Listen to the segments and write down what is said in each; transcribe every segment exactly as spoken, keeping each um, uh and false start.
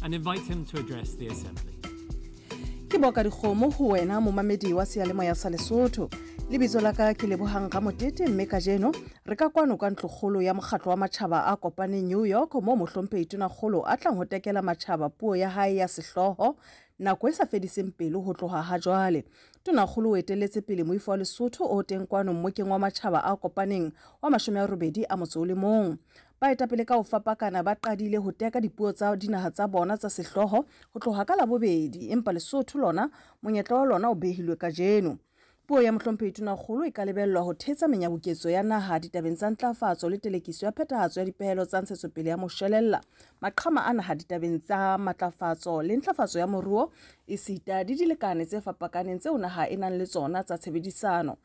and invite him to address the Assembly. Ke boka dikgomo ho wena momamedi wa seyalemoya sa Lesotho. Lebitso la ka ke Lebohang Ramotete, mme kajeno re ka kwano ka ntlokgolo ya mokgatlo wa matjhaba a kopaneng New York, mo mohlomphehi Tonakgolo a tlang ho tekela matjhaba puo ya hae ya sehlooho nako e sa fediseng pelo ho tloha ha jwale. Tonakgolo o etelletse pele moifo wa Lesotho o teng kwano mmokeng wa matjhaba a kopaneng wa mashome a robedi a motso o le mong. Baetapele ka ho fapakana ba qadile ho teka dipuo tsa dinaha tsa bona tsa sehlooho ho tloha ka Labobedi, empa Lesotho lona monyetla wa lona o behilwe kajeno. Puo ya mohlomphehi Tonakgolo e ka lebellwa ho thetsa menyabuketso ya naha ditabeng tsa ntlafatso le telekiso ya phethahatso ya dipehelo tsa ntshetsopele ya moshwelella, maqhama a naha ditabeng tsa matlafatso le ntlafatso ya moruo, esita le dilekane tse fapakaneng tseo naha e nang le tsona tsa tshebedisano.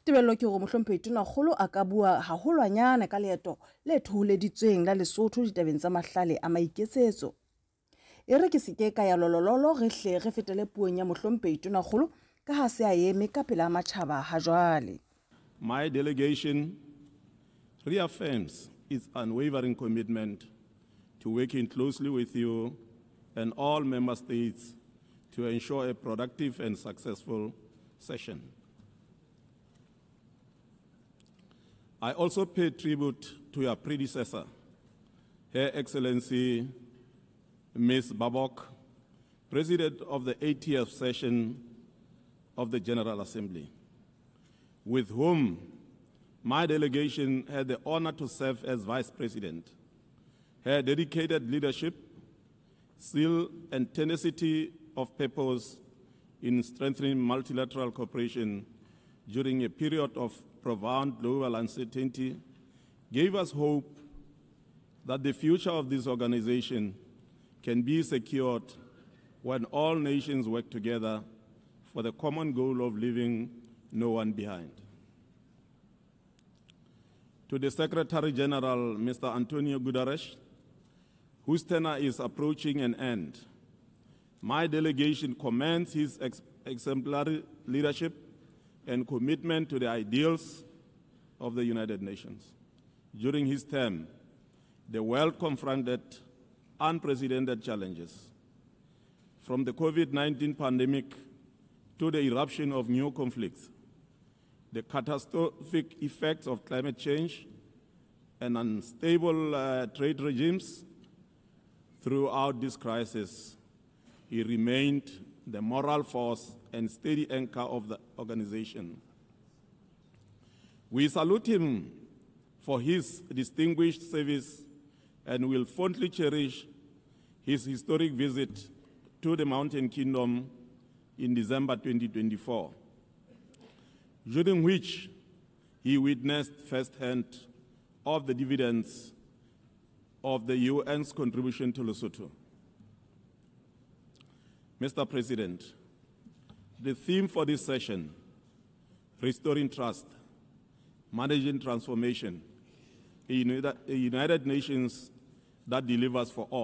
Tebello ke hore mohlomphehi Tonakgolo a ka bua haholwanyane ka leeto le thoholeditsweng la Lesotho ditabeng tsa mahlale a maiketsetso. E re ke se ke ka ya lolololo, re hle re fetele puong ya mohlomphehi Tonakgolo ka ha se a eme ka pela matjhaba ha jwale. My delegation reaffirms its unwavering commitment to working closely with you and all member states to ensure a productive and successful session. I also pay tribute to your predecessor, Her Excellency Miz Baerbock, President of the eightieth session of the General Assembly, with whom my delegation had the honor to serve as Vice President. Her dedicated leadership, zeal, and tenacity of purpose in strengthening multilateral cooperation during a period of profound global uncertainty gave us hope that the future of this organization can be secured when all nations work together for the common goal of leaving no one behind. To the Secretary General, Mister Antonio Guterres, whose tenure is approaching an end, my delegation commends his ex- exemplary leadership and commitment to the ideals of the United Nations. During his term, the world confronted unprecedented challenges, from the COVID nineteen pandemic to the eruption of new conflicts, the catastrophic effects of climate change, and unstable, uh, trade regimes. Throughout this crisis, he remained the moral force and steady anchor of the organization. We salute him for his distinguished service and will fondly cherish his historic visit to the Mountain Kingdom in December twenty twenty-four, during which he witnessed firsthand of the dividends of the U N's contribution to Lesotho. Mister President, the theme for this session, Restoring Trust, Managing Transformation, a United, a United Nations that delivers for all,